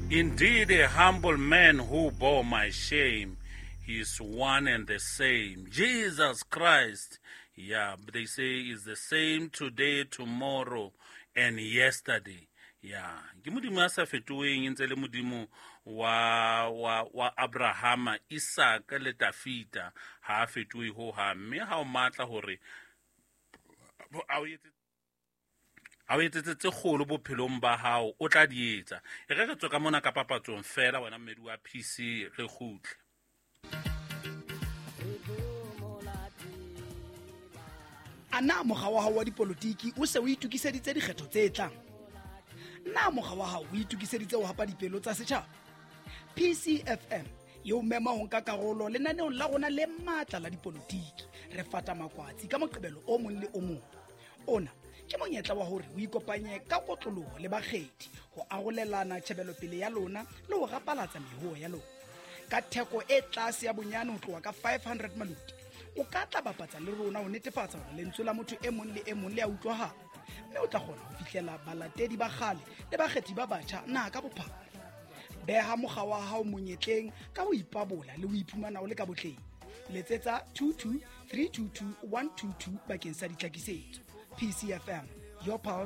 Indeed, a humble man who bore my shame. He is one and the same. Jesus Christ. Yeah, they say is the same today, tomorrow, and yesterday. Yeah. Ke modimo a sa fetoheng e ntse le modimo wa wa wa Abrahama, Isaka le Tafita ha a fetohe ho hang mme ha o matla hore a o etse a o etsetse tse kgolo bophelong ba hao o tla di etsa e re re tswe ka mona ka papatsong fela wena mmedi wa pc re kgutle. A na mokga wa hao wa dipolotiki o se o itokiseditse dikgetho tse tlang? Na mokga wa hao o itokiseditse ho hapa dipelo tsa setjhaba? PCFM e o mema ho nka karolo lenaneong la rona le matla la dipolotiki. Re fata makwatsi ka Moqebelo o mong le o mong. Ona ke monyetla wa hore o ikopanye ka kotloloho le bakgethi ho arolelana tjhebelopele ya lona le ho rapalatsa mehoo ya lona. Ka theko e tlase ya bonyane ho tloha ka 500 maluti, o ka tla bapatsa le rona ho netefatsa hore lentswe la motho e mong le e mong le a utlwahala, mme o tla kgona ho fihlela balatedi ba kgale le bakgethi ba batjha naha ka bophara. Beha mokga wa hao monyetleng ka ho ipabola le ho iphumana o le ka botleng. Letsetsa 22 322 122 bakeng sa ditlhakisetso. PCFM, your pulse.